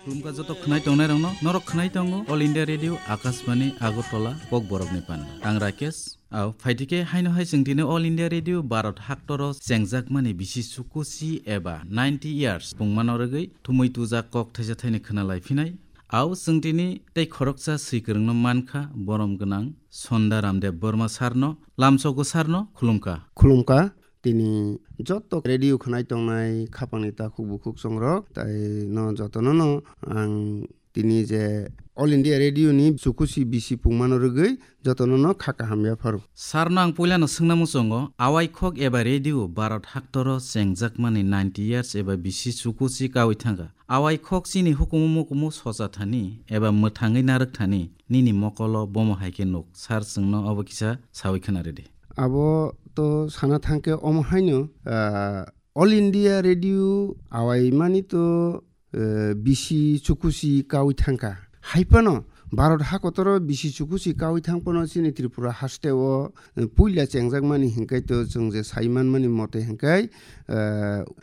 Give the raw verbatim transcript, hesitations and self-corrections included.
Khulumkha joto khwnai tongnairokno, norok khwnai tongo All India Radio Akashbani Agartala Kokborokni panda. Ang Rakesh. Au, phaitike haino hai chwng tini All India Radio Bharat haktoro chengjakmani bisi chukusi eba ninety years pungmano rwgwi thumui tujak kok thaisa thaini khwnalai phinai. Au, chwng tini tei khoroksa swikwrwngno mankha, borom gwnang Sonda Ramdev Borma sarno, lamsogo sarno khulumkha. Khulumkha. Tini joto radio khwnai tongnai khapangni takhuk bukhuk songrok, tai no jotono no ang tini je All India Radio ni chukusi bisi pungmano rwgwi jotono no kha kaham yapharo. Sir no ang puilano swngna muchungo, awai khok eba radio Bharat haktoro chengjakmani ninety years eba bisi chukusi kawi thangkha. Awai khok chini hukumu mukumu socha thani eba mwthangwi narwk thani nini mokolo bomo hai khe nuk. Sir chwngno obo kisa sawi khwna rwdi. Abo to sana thangkhe omo haino, ah, All India Radio awai mani to, eh, bisi chukusi kawi thangkha. Haipano Bharat hakotoro bisi chukusi kawi thangpano chini Tripura hasteo, eh, puila chengjakmani hinkai to chwng je sai manmani mote hinkai, eh,